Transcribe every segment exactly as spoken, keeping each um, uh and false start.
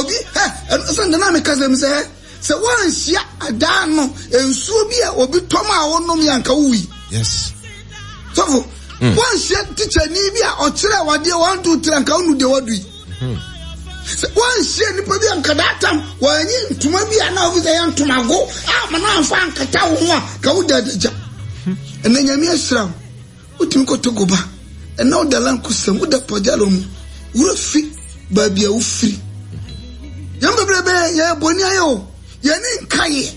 Obi ɛ ɛno sɛ nana mi kasa mi sɛ sɛ wɔnhyia adaa no nsuo bi a obi tɔm a wɔnom yɛ anka wuyi. Yes. Sɔfo mm. wɔnhyia tikyani bi a ɔkyerɛ wadeɛ one two three anka wonu deɛ wadu yi. Mm-hmm. Sɛ wɔnhyia nipa bi anka daatam wɔanyi ntoma bi a na ofi sɛ yɛ ntomago a ma na anfa ankata wo ho a ka wo da adagya. Mm-hmm. Ɛnna Nyame ahyira wo. Wotumi kɔ Togo ba. Ɛnna woda Lankusem, woda Pajalo mu. Wura fi baabi a wofiri. Yɛn bebrebe yɛyɛ bɔne ayɛ o. Yɛn ani nka yɛ.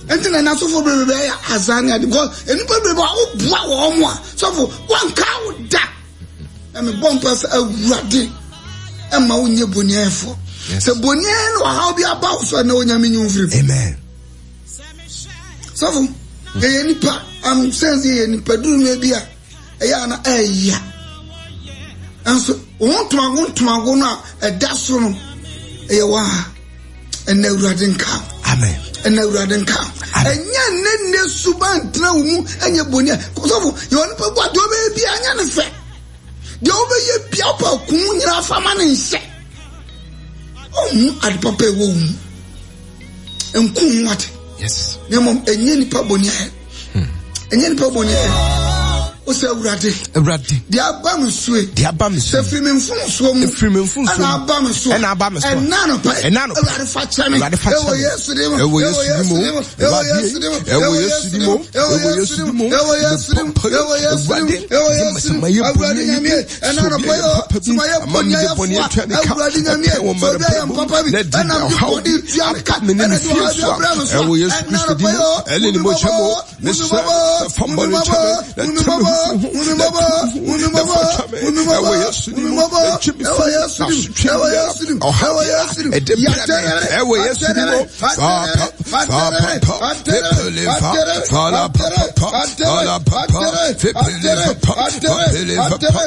Ɛnti na n'asɔfo bebrebe ayɛ azan ne ade because nnipa bebrebe a woboa wɔn a sɔfo wɔnka wo da. Na mebɔ mpa sɛ Awurade ɛma wonyɛ boniayɛfoɔ. Sɛ boniayɛ no ɔhaw bi aba wo so a na Onyame nyi wo mfiri mu. Amen. Sɔfo, yɛyɛ nipa, am sɛn sɛ yɛyɛ nipa duru mmerɛ bi a ɛyɛ ana ɛyɛ. Nanso wɔn ntomago ntomago no a ɛda so no ɛyɛ wɔ ha. Ɛnna Awurade nka. Amen. Ɛnna Awurade nka. Ɛnyɛ nne nne suba ntena wo mu ɛnyɛ boni a. Sɔfo, yɛ onipa bu adeɛ ɔbɛyɛ bi anyɛ ne fɛ. Deɛ wobɛyɛ bia wopɛ kun nyinaa fa ma ne nhyɛ. Ɔnhu ade papa ɛwɔ wo mu. Nku ho ade. Yes. Na mmom ɛnyɛ nipa bɔne ayɛ. Hmm. Ɛnyɛ nipa bɔne ayɛ. O sɛ Awurade. Awurade. Deɛ aba me so yi. Deɛ aba me so. Sɛ firi me mfomsoɔ mu. Firi me mfomsoɔ mu. Ɛna aba me so. Ɛna aba me so. Ɛna anɔpa yi. Ɛna anɔpa. Awurade fa kyɛ me. Awurade fa kyɛ me. Ɛwɔ Yesu din mu. Ɛwɔ Yesu din mu. Ɛwɔ Yesu din mu. Ɛwɔ Yesu din mu. Ɛwɔ Yesu din mu. Ɛwɔ Yesu din mu. Ɛwɔ Yesu din mu. Ɛwɔ Yesu din mu. Awurade Nyame. Ɛna anɔpa yi o. Sɛ mayɛ bɔne ayɛfoɔ a, Awurade Nyame, sɛ obi ayɛ mpapa bi, ɛna mede bɔne tua me ka, ɛna de ɔhaw bi abrɛ me so a, ɛna anɔpa yi o, hu me mmɔbɔ, hu me mmɔbɔ, hu me mmɔbɔ, hu me mmɔbɔ, hu me mmɔbɔ, hu me mmɔbɔ, hu me mmɔbɔ, hu me mmɔbɔ, ɛwɔ Yesu dim, ɛwɔ Yesu dim, ɛwɔ Yesu dim, yɛatɛrɛ, atɛrɛ, atɛrɛ, atɛrɛ, atɛrɛ, atɛrɛ, atɛrɛ, atɛrɛ, atɛrɛ, atɛrɛ, atɛrɛ, atɛrɛ.